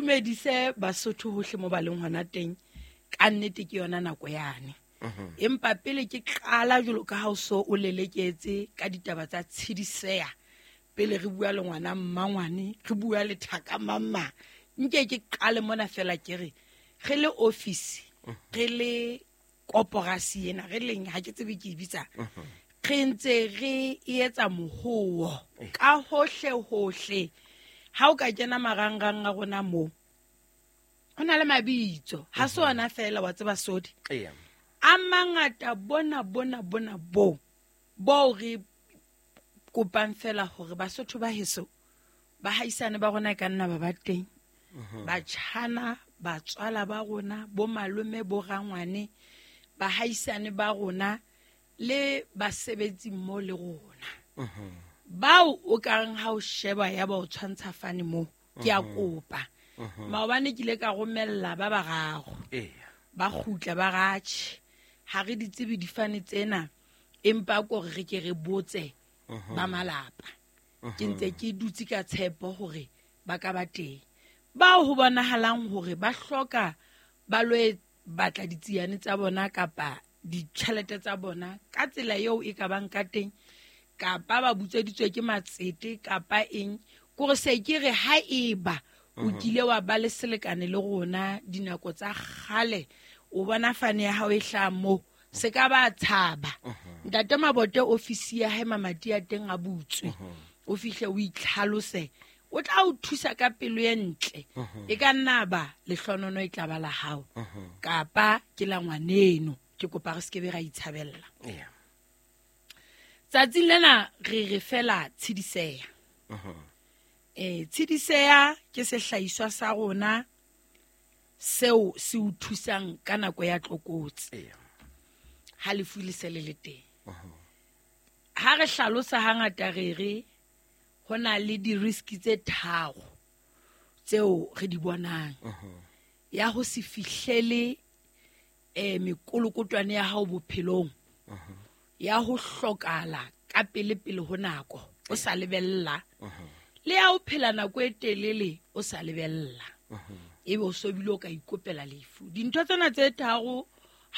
Dumedise Basotho hohle mo ba leng hona teng. Ka nnete ke yona nako yane. Empa pele ke qala jwalo ka ha o so o leleketse ka ditaba tsa tshidiseya, pele re bua le ngwana mmangwane, re bua le thaka mamma, nke ke qale mona fela ke re re le office, re le koporasi ena, re leng ha ke tsebe ke e bitsa, re ntse re etsa mohowo ka hohle hohle. Ha o ka kena marangrang a rona moo, ho na le mabitso, ha se ona fela wa tseba sodi. A mangata bona bona bona bo bo re kopang fela hore Basotho ba heso ba haisane ba rona e ka nna ba ba teng, batjhana, batswala ba rona, bo malome, bo rangwane, bahaisane ba rona le basebetsi mmo le rona. Bao o ka reng ha o sheba ya ba o tshwantsha fane moo, ke a kopa. Maobane ke ile ka romella ba bararo. Ba kgutla ba ratjhe. Ha re di tsebe difane tsena, empa ko re ke re botse ba malapa. Ke ntse ke dutse ka tshepo hore ba ka ba teng. Bao ho bonahalang hore ba hloka ba lo batla ditsiane tsa bona kapa ditjhelete tsa bona ka tsela eo e ka bang ka teng, kapa ba butsweditswe ke matsete kapa eng, kore se ke re ha eba o kile wa ba le selekane le rona dinako tsa kgale, o bona fane ya hao e hlaha moo, se ka ba tshaba. Ntate Mabote ofisi ya hae mamati a teng a butswe, o fihle o itlhalose, o tla o thusa ka pelo e ntle. E ka nna ba lehlonono e tla ba la hao, kapa ke la ngwaneno. Ke kopa re se ke be ra itshabella. Tsatsing lena re re fela tshidiseya. Tshidiseya ke sehlahiswa sa rona seo se o thusang ka nako ya tlokotsi. Ha lefu le se le le teng. Ha re hlalosa hangata re re ho na le di-risk tse tharo tseo re di bonang. Ya ho se fihlele mekolokotwane ya hao bophelong, ya ho hlokala ka pele pele ho nako o sa lebella, le ya ho phela nako e telele o sa lebella, ebe o so bile o ka ikopela lefu. Dintho tsena tse tharo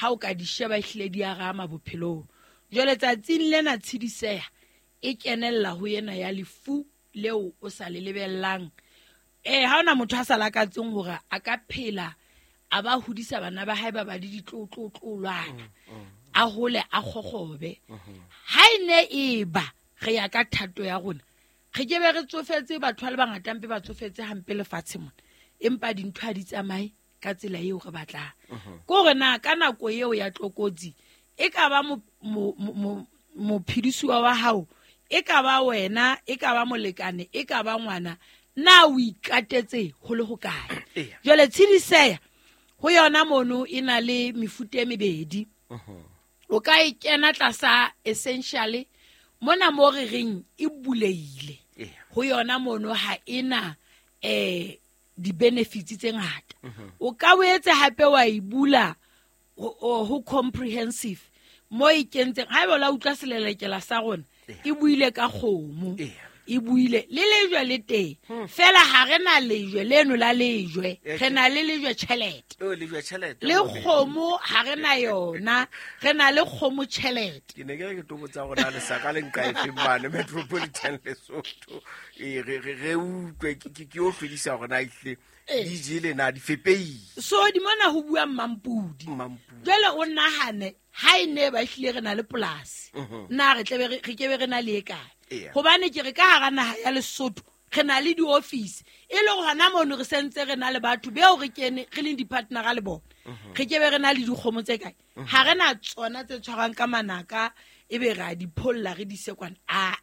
ha o ka di sheba ehlile di a rama bophelong. Jwale tsatsing lena tshidiseha e kenella ho ena ya lefu leo o sa le lebellang. Ha hona motho a sa lakatseng hore a ka phela a ba hodisa bana ba hae ba ba le ditlotlotlolwana, a hole a kgokgobe. Ha e ne e ba re ya ka thato ya rona, re ke be re tsofetse, batho ba le bangata mpe ba tsofetse hampe lefatshe mona, empa dintho ha di tsamaye ka tsela eo re batlang. Ke hore na ka nako eo ya tlokotsi e ka ba mophedisuwa wa hao, e ka ba wena, e ka ba molekane, e ka ba ngwana, na o ikatetse ho le hokae? Jwale tshidiseya ho yona mono e na le mefuta e mebedi. O ka e kena tlasa essential mona mo re reng e buleile. Ho yona mono ha ena di-benefits tse ngata. O ka boetse hape wa e bula ho comprehensive mo e kentseng. Haeba o la utlwa selelekela sa rona, e buile ka kgomo, e buile le lejwe le teng. Fela ha re na lejwe leno la lejwe, re na le lejwe tjhelete. Lejwe tjhelete, Le kgomo ha re na yona, re na le kgomo tjhelete. Ke ne ke re ke tlo botsa hore na lesaka le nka efeng mane Metropolitan Lesotho. Re utlwe, ke yo hlwedisa hore na ehlile di jele na di fepeile. So di mona ho bua Mmampudi. Mmampudi. Jwale o nahane ha e ne ba ehlile re na le polasi, na re tle re ke be re na le e kae? Hobane ke re ka hara naha ya Lesotho re na le di-office, e le hore hona mono re sentse re na le batho beo re kene re leng di-partnera le bona. Re ke be re na le dikgomo tse kae? Ha re na tsona tse tshwarang ka manaka, ebe re a di pholla re di ise kwana. Aa.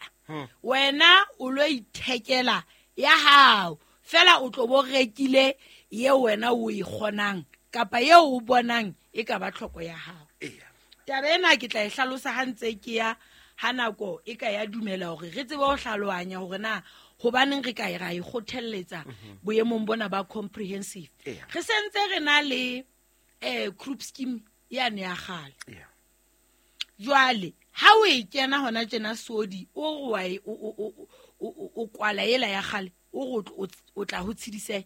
Wena o lo ithekela ya hao, fela o tlo bo rekile eo wena o e kgonang kapa eo o bonang e ka ba tlhoko ya hao. Taba ena ke tla e hlalosa ha ntse ke ya ha nako e ka ya dumela hore re tsebe ho hlalohanya hore na hobaneng re ka e ra e kgothelletsa boemong bona ba comprehensive. Re sentse re na le group scheme yane ya kgale. Jwale ha o e kena hona tjena sodi, o re wa e, o kwala ela ya kgale, o re o tla ho tshedise.